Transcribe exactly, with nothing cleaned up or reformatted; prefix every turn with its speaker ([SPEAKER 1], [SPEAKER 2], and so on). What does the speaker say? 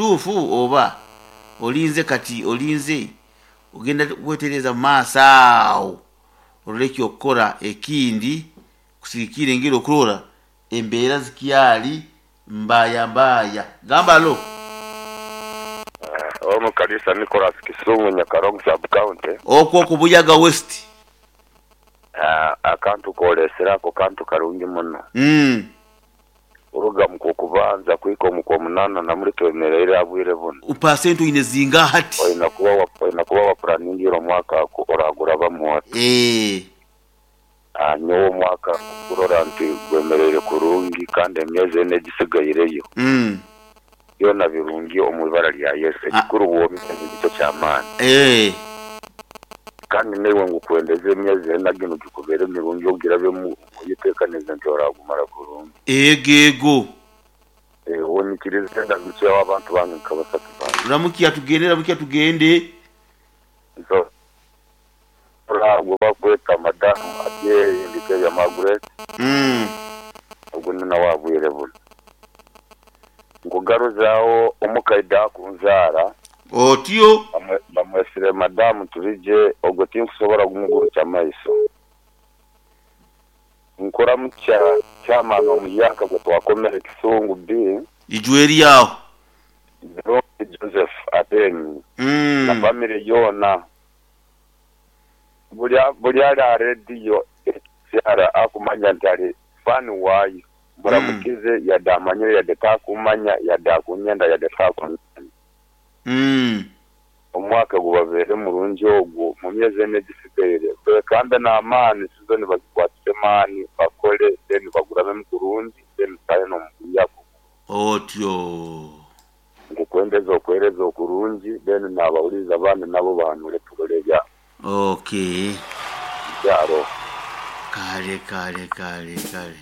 [SPEAKER 1] Kituufu oba olinze kati olinze ogenda kwetereza mu maaso awo orole ekyokukora ekindi kusigikira engeri okurora embeera zikyali mbaya mbaya. Gamba lo.
[SPEAKER 2] Ono Kalisa Nicholas, Kisumu, Nyakalong Sub County.
[SPEAKER 1] Okwo ku Buyaga West.
[SPEAKER 2] Akantu kolesere ako kantu karungi muno.
[SPEAKER 1] Mm.
[SPEAKER 2] Kuruga mu kwokubanza kuhika omu kwomunana namuri twemereire aha bwire buno.
[SPEAKER 1] Pasenti oine zingaha hati?
[SPEAKER 2] Oine kuba wa oine kuba wapuraningiire omwaka oragurabamu oti.
[SPEAKER 1] Eeh.
[SPEAKER 2] Nyowe omwaka nkurora nti gwemereire kurungi kandi emyezi ena egisigaireyo
[SPEAKER 1] Mm.
[SPEAKER 2] byona birungi omu ibara rya Yesu. Ekikuru bwomeezi nikyo ky'amaani.
[SPEAKER 1] Eeh.
[SPEAKER 2] Kandi naiwe ngukwendeze emyezi ena ginu gikubeere mirungi ogirabemu oyeteekanize nti oragumara kurungi.
[SPEAKER 1] Ego ego.
[SPEAKER 2] Eh, onyikirize ndamukyeho abantu bange nka basatu bange.
[SPEAKER 1] Ramukia tugende, ramukia tugende.
[SPEAKER 2] So, gwe bakweta madamu Adyeri Ndikebya Margaret.
[SPEAKER 1] Mm.
[SPEAKER 2] Ogwo ni nawe abwire buno. Nkugaruzaaho omukaide akunzaara.
[SPEAKER 1] Otyo.
[SPEAKER 2] Bamwesire madamu Turije, ogwo tinkusobola kumugurukya maiso. Nkuramukya chairman omuyaka gwe twakomere Kisungu B.
[SPEAKER 1] Ijweri aho.
[SPEAKER 2] Joseph Ateni.
[SPEAKER 1] Mm.
[SPEAKER 2] Na family yoona. Buli buli ali aha rediyo ekyara akumanya nti ali fan waayo. Muramukize yadde amanyire yadde takumanya yadde akunyenda yadde takunyenda.
[SPEAKER 1] Mm.
[SPEAKER 2] Omwaka gubabeere murungi ogwo mu myezi ena egisigaire bekambe n'amaani sizoni bazikwatise maani bakole then bagurabemu kurungi then tutahe n'omuguyako.
[SPEAKER 1] Otyo.
[SPEAKER 2] Nkukwendeza okwereza okurungi then nabawuliriza abandi nabo bahanure turole ebya
[SPEAKER 1] Okay.
[SPEAKER 2] byaro.
[SPEAKER 1] Kale kale kale kale.